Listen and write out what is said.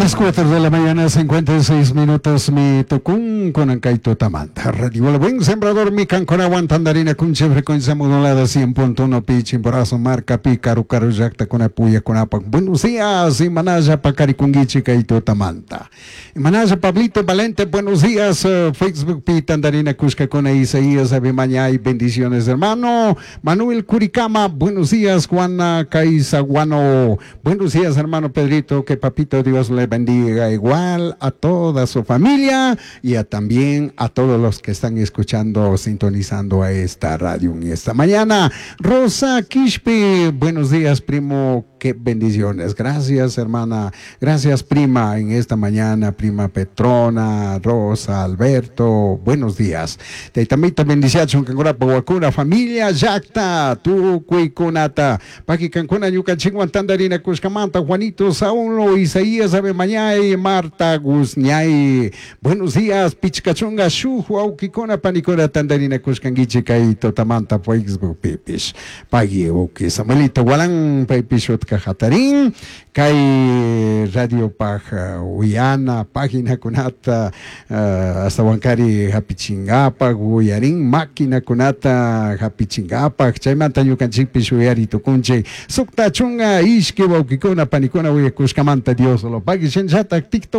Las 4 de la mañana, 56 minutos, mi tucun con Tutamanta. Radio El Buen Sembrador, mi canconawan tandarina kunche frecuencia modulada 100.1 pi chimborazo marca pi caru caru llakta kuna puya kunapa. Buenos días, Imanaya Pacarikunguichi Tamanta. Imanaya Pablito Valente, buenos días, Facebook pi tandarina Cusca con Isaías Abimañay, bendiciones hermano. Manuel Curicama, buenos días, Juana Caizaguano. Buenos días, hermano Pedrito, que papito Dios le bendiga igual a toda su familia y a también a todos los que están escuchando, sintonizando a esta radio en esta mañana. Rosa Quispe, buenos días, primo, qué bendiciones. Gracias, hermana. Gracias, prima, en esta mañana, prima Petrona, Rosa, Alberto, buenos días. Taitamita bendiciachun kankuna wakuna familia llakta tukuy kunata. Paki kankuna ñukanchikwan tandarina kushkamanta Juanito Saulo, Isaías Abemañay, Marta Guzñay. Buenos días, Pichcachunga, Shuj, Aukikuna, Panikuna, tandarina kushkanguichi kay tutamanta Facebook pipish. Pagi uki Samuelito Gualán, paypish utka hatarin, kay radio paj uyana, página kunata, hasta wankari hapichingapaj, uyarin, máquina kunata hapichingapaj, chaymanta ñukanchikpish uyari tukunchik, sukta chunga ishki wawkikuna panikuna uyakushkamanta Dios lo pague, shinllatak TikTok.